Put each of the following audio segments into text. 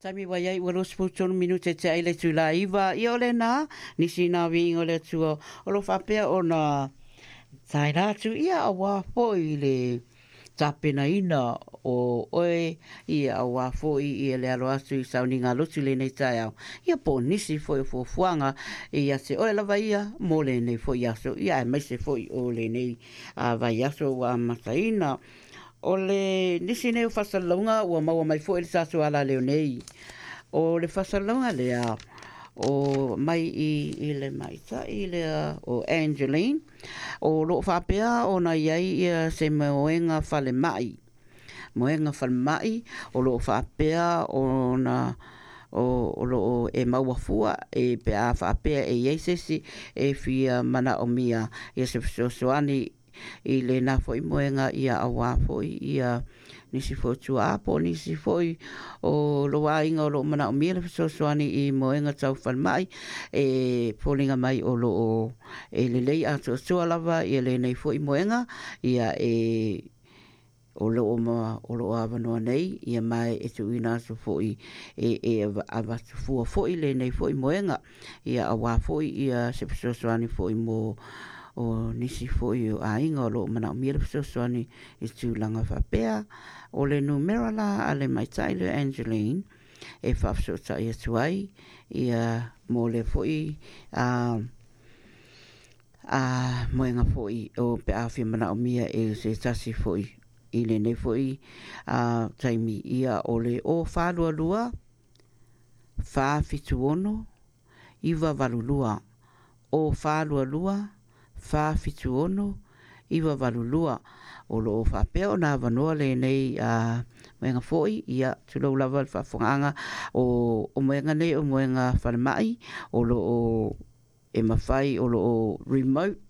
Taimi ua iai ua 23 minute te ai le itula e iva, ia o lena, nisi na viiga o le Atua o lo o faapea ona taela atu, ia auā foi le tapenaina o oe, ia auā foi ia le alo atu i sauniga lotu i lenei taeao, ia po o nisi foi o fuafuaga ia te oe lava ia mo lenei foi aso, ia aemaise foi o lenei vaiaso ua amataina. O le nisi nei o faasalalauga ua maua mai foi i le tatou alaleo nei. O le faasalalauga lea o mai i, i le maita'i lea o Angeline, o lo o faapea ona i ai ia se moega falemai. Moega falemai o lo o faapea ona o, o lo o e maua fua e pe a faapea e i ai se isi e fia manaomia ia se fesoasoani i lena foi moega ia auā foi ia nisi foi o tuaa po o nisi foi o lou aiga o lo o manaomia le fesoasoani i moega tau falemai e foliga mai o lo o e lelei atoatoa lava ia lenei foi moega ia e o lo o ma o lo o avanoa nei ia ma e tuuina atu foi e e avatu fua foi lenei foi moega ia auā foi ia se fesoasoani foi mo o nisi foi o aiga o lo o manaomia le fesoasoani i tulaga faapea. O le numera la a le maitai lea Angeline e faafesootai atu ai ia mo le foi a a moega foi o pe a fia manaomia e se tasi foi i lenei foi a taimi ia o le o 422 476 982 o 422 476 982. O lo o faapea ona avanoa lenei a moega foi, ia tulou lava le faafofogaaga o, o moega nei o moega falemai o lo o e mafai o lo o remote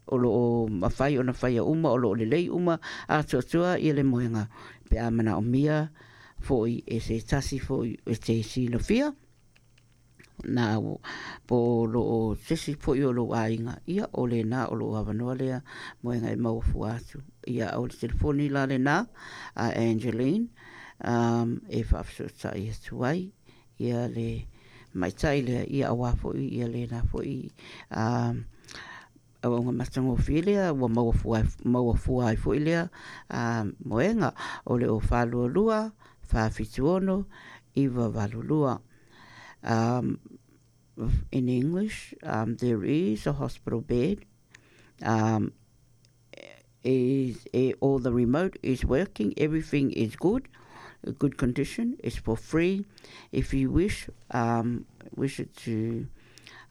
o lo o mafai ona faia uma o lo o lelei uma atoatoa ia le moega pe a manaomia foi e se tasi foi e te silafia na po o lo o se isi foi o lou aiga ia o lena o lo o avanoa lea moega e maua fua atu ia o le telefoni la lena a Angeline um, e faafesootai atu ai ia le maitai lea ia auā foi ia lena foi um, auauna matagofie lea ua maua fua, maua fua ai foi lea a moega o le o 422 476 982. Um, in English, um, there is a hospital bed. Um, is, is all the remote is working, everything is good, good condition. It's for free. If you wish, um, wish it to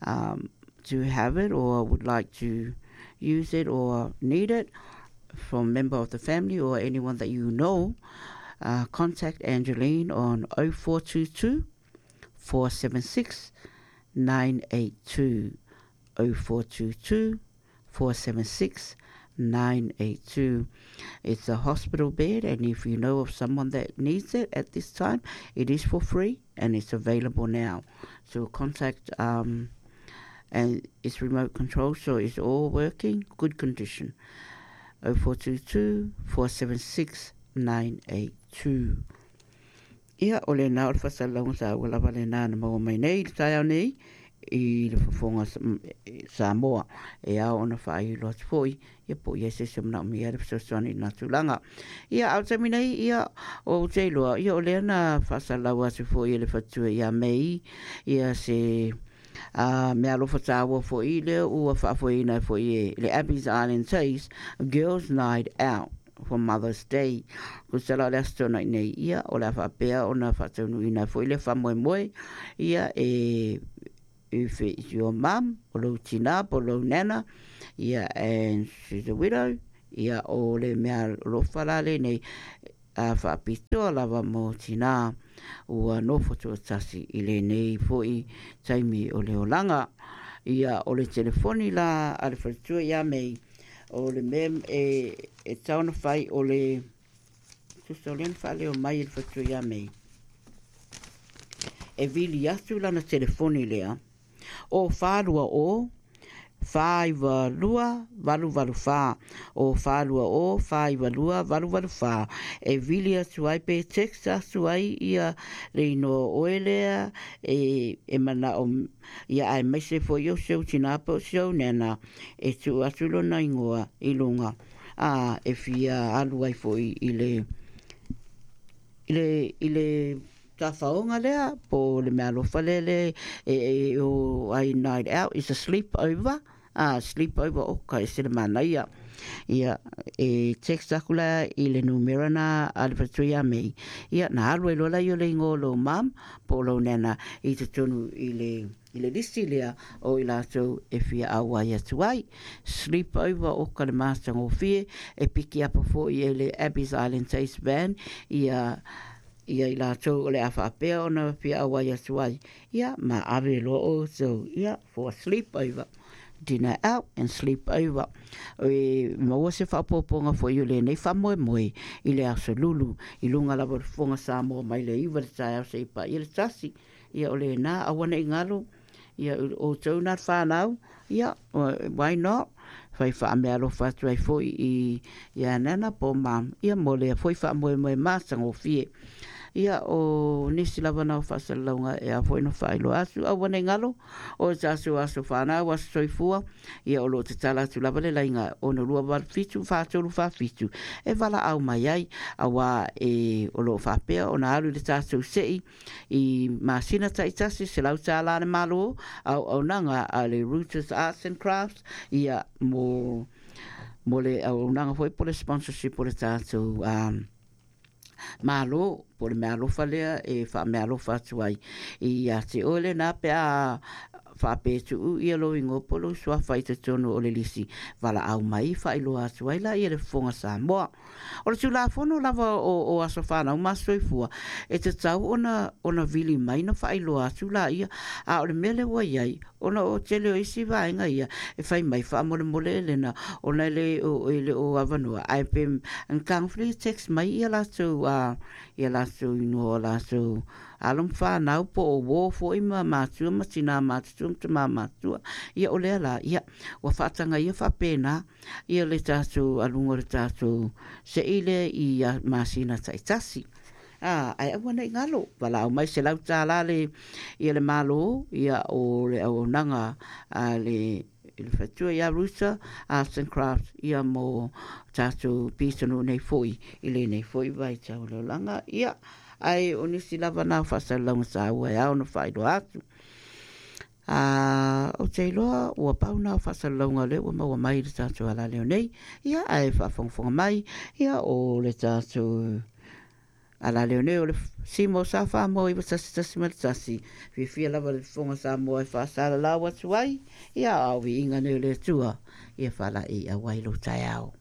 um, to have it or would like to use it or need it from member of the family or anyone that you know, uh, contact Angeline on 0422 476 982 0422 476 982. It's a hospital bed, and if you know of someone that needs it at this time, it is for free and it's available now. So contact, um, and it's remote control, so it's all working, good condition. 0422 476 982. Ia, o lena o le faasalalauga taua lava lena na maua mai nei i le taeao nei i le fofoga Samoa e ao ona faailo atu foi ia po o i ai se isi o manaomia le fesoasoani i lena tulaga. Ia, a o le taimi nei, ia, ou te iloa, ia o lea na faasalalau atu foi e le faletua ia Mei ia se a mea alofa taua foi lea ua faafoeina ai foi e le Abbey's Island Taste Girls Night Out for Mother's Day. Tusa la o le Aso Toonai nei, ia, o le a faapea ona faataunuuina ai foi lea faamoemoe, ia, e, if it's your mum, o lou tinā po o lou nana, ia, and she's a widow, ia, o le mea alofa la lenei, a faapitoa lava mō tinā ua nofo tuatasi i lenei foi taimi o le olaga. Ia, o le telefoni la a le faletua ia Mei, O le mea e, e tau ona fai o le tusa o lea na faaleo mai e le faletua ia Mei. E vili atu lana telefoni lea o 420 492 884, o 420 492 884, e vili atu ai pe text atu ai ia le inoa o oe lea e, e manao ia aemaise foi o si ou tinā po o si ou nena e tuu atu lona ingoa i luga a e fia alu ai foi i le i le i le tafaoga lea po le mealofa lea le e, e o ai night out is a sleep over a sleep over o ka ese le manaia ia e text aku la i le numera na a le faletua ia Mei ia na alu ai loa la i o le ingoa o lou mum po o lou nana i totonu i le i le lisi lea o i latou e fia auai atu ai. Sleep over oka le matagofie e piki apa foi e le Abbey's Island Taste Van ia ia i latou o le a faapea ona fia auai atu ai. Ia ma ave loa outou ia for a sleep over. Dinner out and sleep over. E maua se faaopoopoga foi o lenei faamoemoe i le aso Lulu i luga lava o le Fofoga Samoa mai le 9 i le taeao seia paia le 1. Ia o lena, aua ne i galo, ia outou na le whanau, ia, why not? Fai faameaalofa atu ai foi i, ia Nana po Mum, ia mo lea foi faamoemoe matagofie. Ia o nisi lava na o faasalalauga e ao foi ona faailoa atu, aua ne i galo, o tatou aso whanau, aso soifua, ia o lo o tatala atu lava le laina 6 2 8 7 4 3 4 7 e valaau mai ai, auā e o lo o faapea ona alu i le tatou sei i masina taitasi $100 le Malo, auaunaga a le Reuters Arts and Crafts, ia mo mo le auaunaga foi po o le sponsorship o le tatou um, Malo, po o le meaalofa lea e faameaalofa atu ai ia te oe lena pe a faapea tuu ia lou igoa po o lou suafa i totonu o le lisi valaau mai faailoa atu ai la ia le Fofoga Samoa. O le Tulafono lava o, o Aso Fanau ma Aso Soifua e tatau ona, ona vili mai na faailoa atu la ia, a o le mea lea ua i ai, ona o tele o isi vaega ia e fai mai faamolemole e lena ona e le o, e le o avanoa ae pe na text mai ia latou a ia latou inoa o latou alo ma whanau po o uō foi ma matua ma tinā matutua ma tamā matua. Ia o lea la, ia, ua faataga ia faapena ia le tatou aluga o le tatou se'i lea i masina taitasi. A, ae aua nei galo, valaau mai $100 le, ia le Malo, ia o le auaunaga a le i le faletua ia Rusa Arts and Crafts ia mo tatou pitonuu nei foi i lenei foi vaitau o le olaga. Ia, ae o nisi lava na o faasalalauga taua e ao ona faailoa atu. A, ou te iloa ua pau na o faasalalauga lea ua maua mai i le tatou alaleo nei. Ia, ae faafogafoga mai, ia o le tatou alaleo nei o le Simo sa Samoa 91.1. Fiafia lava le Fofoga Samoa e faasalalau atu ai, ia a o viiga nei o le Atua, ia faalaei auai lou taeao.